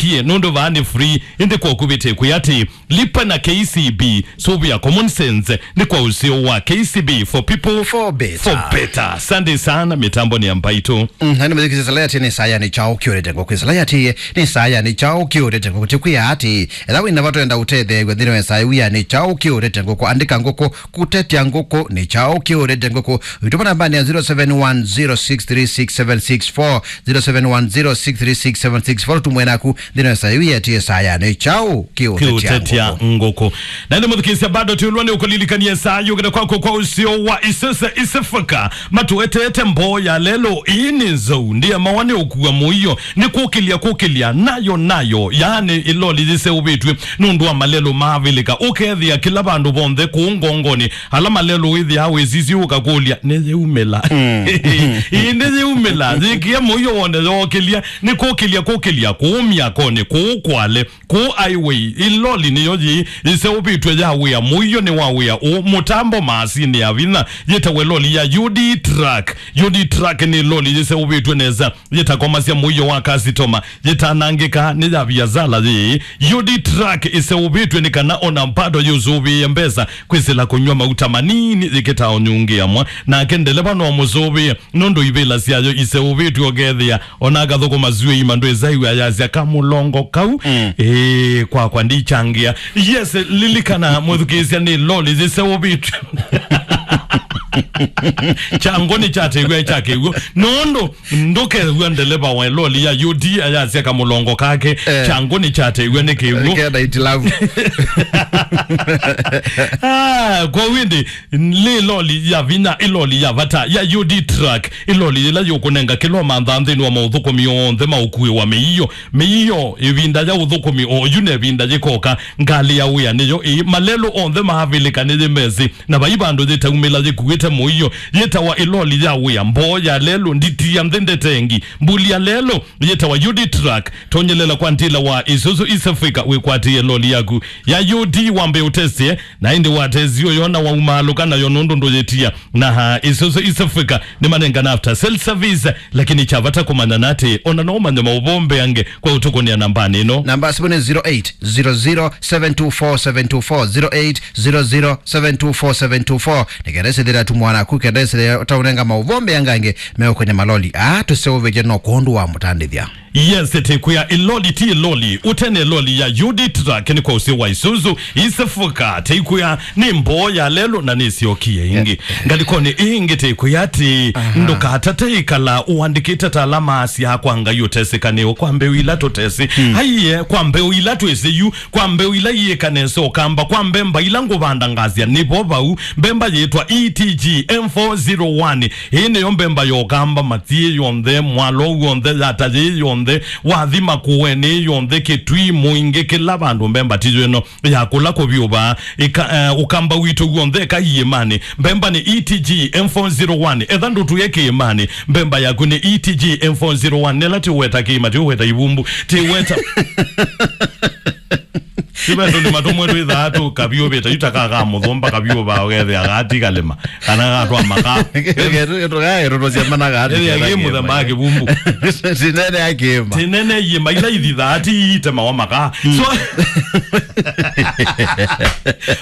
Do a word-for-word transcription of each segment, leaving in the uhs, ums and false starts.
tie, nũndũ vaa nĩ free, ĩndĩ kwa ũkuvĩte kwĩ atĩ, lipa na K C B, sũvĩa common sense, nĩ kwa ũseo wa K C B for people, for better. For better. Asante sana, mĩtambo nĩ ya mbaitũ. Mm, na nĩ mũthikisi sala yati nĩ saa ya nĩ chao kĩũrĩte ngũkũ. Sala yati nĩ saa ya nĩ chao kĩũrĩte ngũkũ. Tĩkwĩa atĩ, ela wĩna vatũ enda ũtetheew'a nthĩnĩ wa saa ya nĩ chao kĩũrĩte ngũkũ. Andĩka ngũkũ, kũtetya ngũkũ, nĩ chao kĩũrĩte ngũkũ. Wĩtũma nambanĩ ya zero seven one zero six three six seven six four, zero seven one zero six three six seven six four, tũmwe naku, nthĩnĩ wa saa ĩĩ yetie saa ya nĩ chao kĩũtetya ngũkũ. Na nĩ mũthikĩĩsya bado tũlwa nĩ ũkũlilikania saa yũkĩte kwako kwa ũseo wa isese isefaka. Matũetete mboo ya lelo ĩĩ nĩ nzau, ndiamawa nĩ ũkua mũio, nĩ kũkĩlya kũkĩlya, nayo nayo, yaani ĩloli yĩseũvĩtw'e nũndũ wa malelo maavĩlĩka. Ũkethĩa kĩla vandũ vonthe kũu ngongoni, ala malelo wĩthĩaa wĩsisye ũkakũlya, "Nĩyĩumĩla?" Mm. Ĩĩ, nĩyĩumĩla. Yĩkĩa mũio wone yookĩlya, nĩ kũkĩlya kũkĩlya, kũu myakonĩ, kũu kwale, kũu highway. Ĩloli nĩyo yĩĩ ĩseũvĩtw'e ya wĩa. Mũio nĩ wa wĩa ũũ. Mũtambo maasini ya vinya yĩtawa ĩloli ya U D truck. U D truck nĩ ĩloli yĩseũvĩtw'e nesa, yĩtakomasya mũio wa kasitoma, yĩtanangĩka nĩ ya viasala yĩĩ. U D truck ĩseũvĩtw'e nĩ kana ona bado yĩũsũvĩĩe mbesa kwĩsĩla kũnyw'a mauta manini yĩkĩtaa ũnyungĩa mwa. Nake ndeleva no mũsũvĩe nũndũ ivĩla syayo iseũvĩtw'e, ũkethĩa ona akathũkũma syũi ima ndwĩsaiw'a yasya kamũlongo kau. Mm. Ĩĩ, kwakwa ndichangĩa. Yes, lilikana mwĩthukĩĩsya nĩ loli yĩseũvĩtw'e. Chango nĩkyateew'a kya kĩw'ũ. Nũndũ ndũkew'a ndeleva wa loli ya U D ayasya kamũlongo kake, eh, chango nĩkyateew'a nĩ kĩw'ũ. Kenda itilavu. Ah, kwa windi, nĩ loli ya vinya, ĩloli ya vata ya U D truck, ĩloli yĩla yũkũnenga kĩla ũmanthaa nthĩnĩ wa maũthũkũmi onthe ma ũkui wa mĩio. Mĩio, ĩvinda ya ũthũkũmi oyu na ĩvinda yĩkoka, ngalĩ ya wĩa nĩyo ĩĩ. Malelũ onthe maavĩlĩka nĩyĩmesĩ, na vai vandũ yĩtaumĩla yĩkuĩte mũio. Yĩtawa ĩloli ya wĩa, mboo ya lelũ, nditi ya nthĩ ndetengi, mbuli ya lelũ, yĩtawa U D truck. Tonyelela kwa ndila wa Isuzu East Africa wĩkwatĩe loli yaku ya U D wambe ũtesye, na ĩndĩ watesya ũyona waumaalũka nayo nũndũ ndũyĩtia. Na ha Isuzu East Africa nĩmanengana after sale service, lakini kya vata kũmanya nĩ atĩ ona no ũmanye maũvoo mbeange kwa ũtũkũnĩa nambanĩ ĩno. Namba ya simũ nĩ zero eight zero zero seven two four seven two four, zero eight zero zero seven two four seven two four. Nĩ kenda ĩsĩthĩra tu mwanaku, kenda ĩsĩthĩra ũtaũnenga maũvoo mbeangange meũkũnĩa maloli aa tũseũvĩtye no kwondũ wa mũtandĩthya. Yes, tĩkwĩa ĩloli ti ĩloli, ũtene ĩloli ya U D truck nĩ kwa ũsĩ wa Isuzu, East Africa, tĩkwĩa nĩ mboo ya lelũ na nĩsyokie ĩngĩ. Ngalĩkonĩ ĩngĩ tĩkwĩa atĩ, aha, ndũkatate ĩkala ũandĩkĩte ta ala maasya kwa Ngai ũtesĩkanĩo kwa mbeũ ila tũtesĩ. Hmm. Aiye, kwa mbeũ ila twĩsĩ yu, kwa mbeũ ila iĩka nesa ũkamba, kwa mbemba ila ngũvanda ngasya nĩvo vau, mbemba yĩtwa E T G M four zero one. Ĩĩ nĩyo mbemba ya ũkamba, Matii yonthe, mwalo wonthe, yata yĩĩ yonthe, wathi Makueni yonthe, Kitui, Mwingi, kĩla vandũ mbemba ti yu ĩno ya kũla kũvyũva. Ĩka-, eh, ũkamba witũ w'onthe eka iĩmanĩ. Mbemba nĩ E T G M four zero one. Etha ndũtũe kĩĩmanĩ, mbemba yaku nĩ E T G M four zero one. Nĩla tiweta kĩĩma, tiweta ivumbu, tiweta. Ti vetu nĩ matũmwe twĩthaa tũkavyũvĩte, yu ta kaa ka mũthũmba kavyũvaa ũkethĩa gati kalĩma, kana gatwa makaa. Ketu, ketu, ketu, tũsyamana gati. Ĩthĩa kĩ mũthemba wa kĩvumbu. Tinene ya kĩĩma. Tinene iĩma ila ithithaa ti itemawa makaa. Mm. So,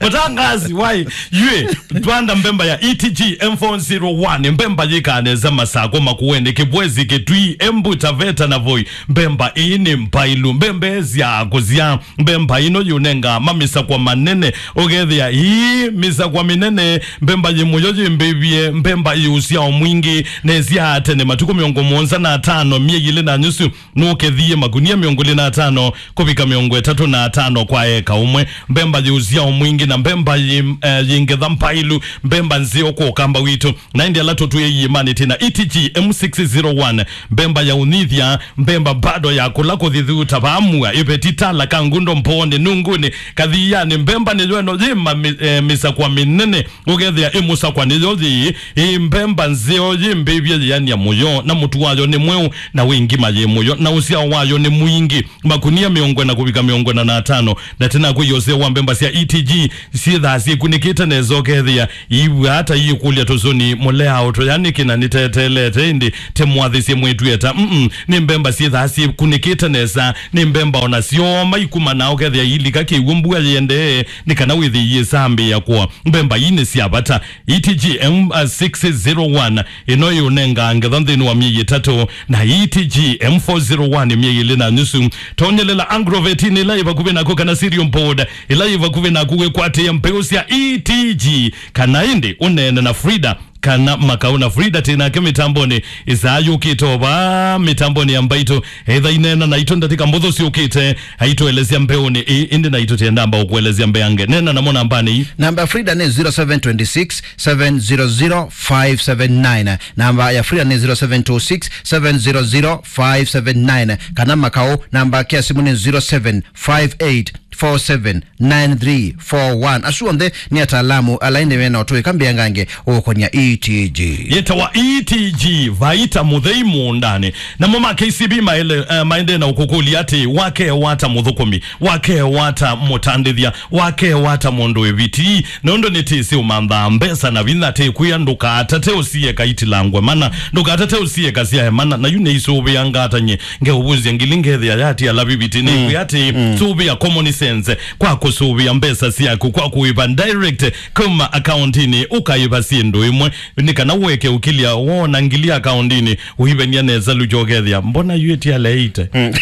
mũtangazi, wai, yue, twanda mbemba ya E T G M four zero one, mbemba yĩkaa nesa Masako, Makueni, Kibwezi, Kitui, Embu, Taveta na Voi. Mbemba ĩĩ nĩ mbailu, mbemba ĩsyaa kũsyaa. Mbemba ĩno yũnenga mamisakwa manene, ũkethĩa ii misakwa mĩnene. Mbemba yĩ mũyo yĩmbĩvye, mbemba yĩ ũsyao mwingĩ, na ĩsyaa tene matukũ mĩongo mũonza na atano, myei ĩlĩ na nyusu, nũkethie makunia mĩongo ĩlĩ na atano kũvika mĩongo ĩtatũ na atano kwa eka ũmwe. Mbemba yĩ ũsyao mwingĩ na mbemba yĩ, eh, yĩ ngetha mbailu, mbemba nzeo kwa ũkamba witũ. Na ĩndĩ ala tũtwĩe iĩmanĩ twĩ na E T G M six zero one, mbemba ya ũnyithya, mbemba bado ya kũla kũthithuta vamua, ĩveti tala ka ngundo mboonĩ. Unguni, kathianĩ, mbemba nĩyo ĩno yĩ ma-, mĩ-, eh, mĩsakwa mĩnene, ũkethĩa ĩ mũsakwa nĩyo yĩ, ĩ mbemba nzeo yĩ mbĩvye yĩania mũyo, na mũtu wayo nĩ mweũ, na wĩ ngima yĩ mũyo, na ũsyao wayo nĩ mwingĩ, makunia mĩongo ĩna kũvika mĩongo ĩna na atano, na tena kwĩ ũseo wa mbemba sya E T G, syĩthaa syĩkunĩkĩte nesa, ũkethĩa iw'a ata iikũlya tũsũni mũleao tũyanĩkĩ na nĩteteelete, ĩndĩ tĩmwathĩsye mwĩtw'ĩe ta, mm, nĩ mbemba syĩthaa syĩkunĩkĩte nesa, nĩ mbemba ona syoma ikuma na ũkethĩa ilika kĩw'ũ mbua yĩendee, nĩ kana wĩthĩe iyĩsambĩĩa kũa. Mbemba ii nĩ sya vata. E T G M six zero one, ĩno ĩũnengaa ngetha nthĩnĩ wa myei ĩtatũ, na E T G M four zero one myei ĩlĩ na nusu. Tonyelela Agrovet ĩla yĩ vakuvĩ naku kana Cereal Board ĩla yĩ vakuvĩ naku wĩkwatĩe mbeũ sya E T G, kana ĩndĩ ũneene na Frida kana Makau. Na Frida twĩ nake mĩtambonĩ ĩsaa yũkĩte o vaa mĩtambonĩ ya Mbaitũ. Etha ineena naitũ ndatĩka mbũthũ syũkĩte, aitũelesya mbeũnĩ ĩĩ, ĩndĩ naitũ tĩendamba ũkũelesya mbeange. Neena namo nambanĩ ii. Namba ya Frida nĩ zero seven twenty six, seven zero zero, five seven nine. Namba ya Frida nĩ zero seven two six, seven zero zero, five seven nine. Kana Makau, namba yake ya simũ nĩ zero seven five eight four seven nine three four one. Asu onthe nĩ ataalamu ala ĩndĩ mena ũtũĩka mbeangange ũkonia E T G. Yĩtawa E T G, vaita mũthei mũũndanĩ. Namo ma K C B maele-, eh, maendee na ũkũkũlya atĩ, wakewa ata mũthũkũmi, wakewa ata mũtandĩthya, wakewa ata mũndũ ĩviti? Nũndũ nĩtĩsĩ ũmanthaa mbesa na vinya, tĩkwĩa ndũkatate ũsieka itilangwe mana, ndũkatate ũsieka syae mana, na yu nĩisũvĩanga atany'e. Ngeũvũsya ngili ngethĩa yati ala viviti nĩkwĩa atĩ, mm, sũvĩa common sense kwa kũsũvĩa mbesa syaku kwa kũĩva direct kuma akauntinĩ ũkaĩva syĩndũ imwe, nĩ kana ũeke ũkilya wona ngili akauntinĩ ũivenia nesa lucho ũkethĩa, mbona yu ĩtialeĩte? Mm.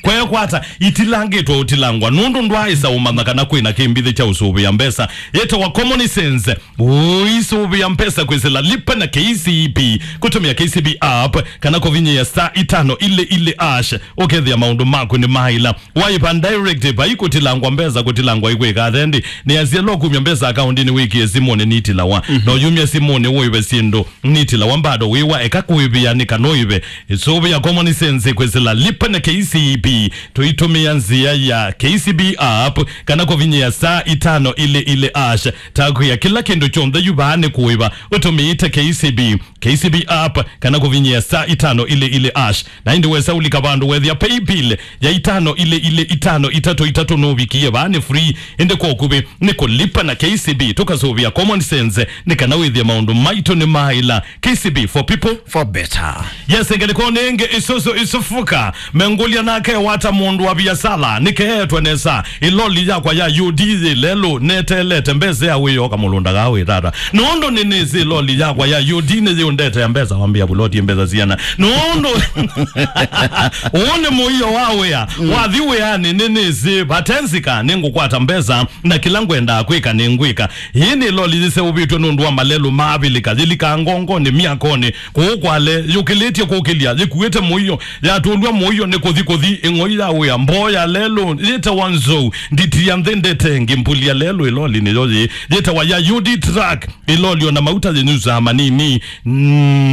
Kwekwata itilangĩtwe ũtilangwa nũndũ ndwaaĩsa ũmanya kana kwĩna kĩmbithĩ kya ũsũvĩa mbesa. Yĩtawa common sense. Ũisũvĩa mbesa kwĩsĩla Lipa na K C B, kũtũmĩa K C B app, kana kũvinyĩa star itano ile ile hash, ũkethĩa maũndũ maku nĩ maĩla. Waipa direct, vai kũtilangwa mbesa, kũtilangwa ikwĩka athendi. Nĩ asya lo kumya mbesa akauntinĩ wĩkie simũnĩ nitilawa. Mhm. No yumya simũnĩ ũive syĩndũ nitilawa, bado wĩwa eka kũĩvĩa nĩ kana ũive. Ĩsũvĩa common sense kwĩsĩla Lipa na K C B. Tũitũmĩa nzĩa ya K C B app kana kũvinyĩa star itano ile ile hash. Takwĩa kĩla kĩndũ kyonthe yu vaa nĩ kũĩva ũtũmĩĩte K C B, K C B app, kana kũvinyĩa star itano ile ile hash. Na ĩndĩ wesa ũlika vandũ wethĩa paybill ya itano ile ile itano itatũ itatũ nũvikie vaa nĩ free, ĩndĩ kwa ũkuvĩ nĩ kũlipa na K C B. Tũkasũvĩa common sense nĩ kana wĩthĩe maũndũ maitũ nĩ maĩla. K C B for people. For better. Yes, ngelekoni ĩngĩ Isuzu Isufuka. Mengũlya nake wata mũndũ wa biasala, nĩkeetwe nesa. Ĩloli yakwa ya U D yĩ lelũ, neteelete mbesa ya wĩyoka mũlũnda ga wĩ tata. Nũndũ nĩnĩsĩ ĩloli yakwa ya U D nĩyĩũndetea mbesa, wambĩa vuloti mbesa siana. Nũndũ ũũ nĩ mũio wa wĩa. Mm. Wathi wĩanĩ nĩnĩsĩ vatenzika nĩngũkwata mbesa na kĩla ngwendaa kwĩka nĩngwĩka. Ĩĩ nĩ loli yĩseũvĩtw'e nũndũ wa malelũ ma Avilika, yĩlikaa ngongonĩ, myakonĩ, kũũ kwale, yũkĩlĩtye kũkĩlya, yĩkuĩte mũio, yatũlw'a mũio nĩ kũthi kũthi, ĩng'oi ya wĩa, mboo ya lelũ, yĩtawa nzou, nditi ya nthĩ ndete ĩngĩ, mbuli ya lelũ, ĩloli nĩyo yĩĩ, yĩtawa ya U D truck, ĩloli ona mauta yĩnyusaa manini,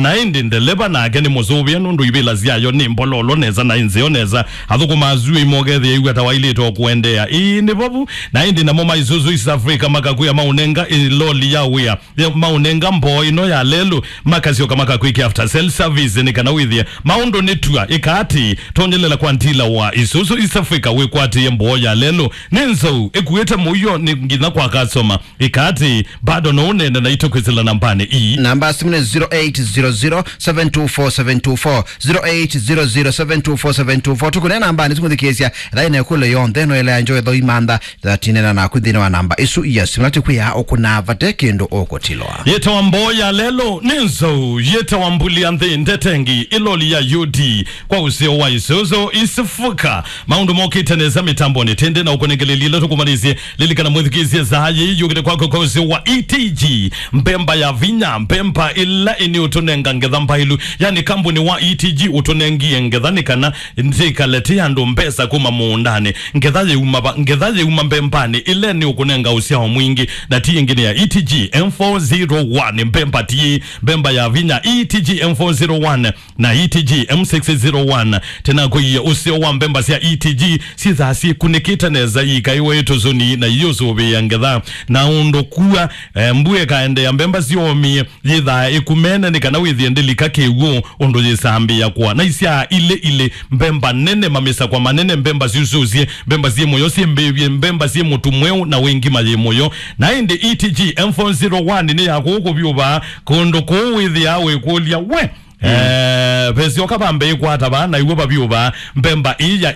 na ĩndĩ ndeleva nake nĩ mũsũvĩe nũndũ ivĩla syayo nĩ mbololo nesa na ĩ nzeo nesa, athũkũma asu ĩmokethĩa ĩw'a ta wailĩte o kũendeea. Ĩĩ nĩ vovu. Na ĩndĩ namo ma Isuzu East Africa makakwĩa maũnenga ĩloli ya wĩa, ya maũnenga mboo ĩno ya lelũ, makasyoka makakwĩkĩa after sale service nĩ kana wĩthĩe maũndũ nĩ tua. Ĩka atĩ, tonyelela kwa ndila wa Isuzu East Africa wĩkwatĩe mboo ya lelũ. Nĩ nzou, ĩkuĩte mũio nĩ nginya kwa customer. Ĩka atĩ, bado no ũneene naitũ kwĩsĩla nambanĩ ii. Namba ya simũ nĩ zero eight zero zero, seven two four, seven two four, zero eight zero zero, seven two four, seven two four. Tũkũneena nambanĩ tũmũthikĩĩsya, thaĩ na ĩkũlyo yonthe no ĩla ya njoe thoi mantha. Thatinena naku nthĩnĩ wa namba ĩsu ya simũ, na tũkwĩa ũkũnaa vate kĩndũ ũkũtilwa. Yĩtawa mboo ya lelũ nĩ nzou, yĩtawa mbuli ya nthĩ ndetengi, ĩloli ya U D kwa ũseo wa Isuzu East Africa. Maũndũ mokĩte nesa mĩtambonĩ tende na ũkũnengelelile tũkũmanyĩsye. Lilikana mwĩthukĩĩsye saa yĩĩ yũkĩte kwako kwa ũseo wa E T G, mbemba ya vinya, mbemba ĩla nĩ ũtũnenga ngetha mbaĩlu. Yani, kambuni wa E T G ũtũnengie ngetha nĩ kana ndĩkale tĩ andũ mbesa kuma mũũndanĩ. Ngetha yĩuma va? Ngetha yĩuma mbembanĩ. Ĩle nĩ ũkũnenga ũsyao mwingĩ, na ti ĩngĩ nĩ ya E T G M four zero one, mbemba ti mbemba ya vinya. E T G M four zero one na E T G M six zero one. Tena kũiya ũseo wa mbemba sya E T G syĩthaa syĩkunĩkĩte nesa, ikaiwe tũsũni na iũsũvĩĩa ngetha. Na ũndũ kua, eh, mbua ĩkaendeea, mbemba syomie yĩthaa ĩkumene nĩ kana wĩthĩe ndĩlika kĩw'ũ ũndũ yĩsambĩĩa kũa. Na isyaa ilĩ ilĩ, mbemba nene, mamĩsakwa manene, mbemba syusũsye, mbemba syĩ mũyo, syĩ mbĩvye, mbemba syĩ mũtu mweũ, na wĩ ngima yĩ mũyo. Na ĩndĩ E T G M four zero one nĩ ya kũũ kũvyũvaa, kũndũ kũũ wĩthĩaa wĩkũlya, we, eh, vesyoka vambe ĩkwata vaa, na iw'o vavyũvaa mbemba ĩĩ ya